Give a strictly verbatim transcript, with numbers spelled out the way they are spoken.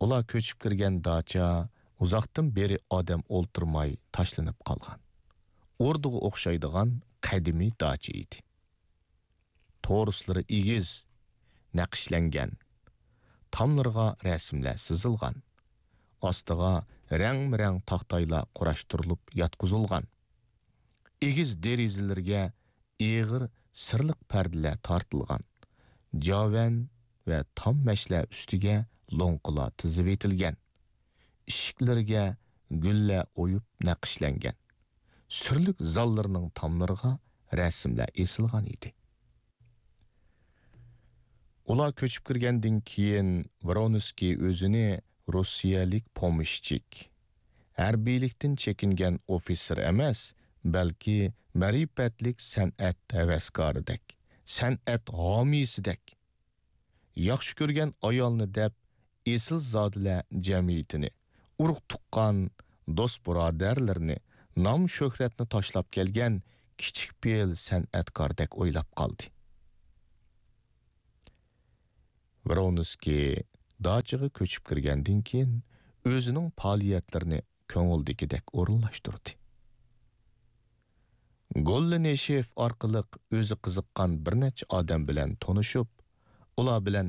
ئۇلار كۆچۈپ كىرگەن داچا ئۇزاقتىن بېرى ئادەم ئولتۇرماي تاشلىنىپ قالغان، ئوردىغا ئوخشايدىغان قەدىمىي داچا ئىدى. تورۇسلىرى ئېگىز، نەقىشلەنگەن، تاملىرىغا رەسىملەر سىزىلغان، ئاستىغا رەڭمۇرەڭ تاختايلار قۇراشتۇرۇلۇپ ياتقۇزۇلغان. ئېگىز دېرىزىلىرىگە ئېغىر سىرلىق پەردىلەر تارتىلغان. جاۋەن ۋە تام مەشلەر ئۈستىگە لوڭقىلار تىزىۋېتىلگەن. ئىشىكلىرىگە گۈللەر ئويۇپ نەقىشلەنگەن. سۈرلۈك زاللىرىنىڭ تاملىرىغا رەسىملەر ئېسىلغان ئىدى. ئۇلار كۆچۈپ كىرگەندىن كېيىن، ۋرونسكىي ئۆزىنى روسىيەلىك پومېشچىك، ھەربىيلىكتىن چېكىنگەن ئوفىتسېر ئەمەس، بەلكى مەرىپەتلىك سەنئەت ھەۋەسكارىدەك، سەنئەت ھامىيسىدەك، ياخشى كۆرگەن ئايالنى دەپ، ئېسىلزادىلەر جەمئىيىتىنى، ئۇرۇق-تۇغقان، دوست-بۇرادەرلىرىنى، نام-شۆھرەتنى تاشلاپ كەلگەن كىچىك پېئىل سەنئەتكاردەك ئويلاپ قالدى. ۋرونسكىي داچىغا كۆچۈپ كىرگەندىن كېيىن، ئۆزىنىڭ پائالىيەتلىرىنى كۆڭۈلدىكىدەك ئورۇنلاشتۇردى. گوللىنىشېف ئارقىلىق ئۆزى قىزىققان بىر نەچچە ئادەم بىلەن تونۇشۇپ، ئۇلار بىلەن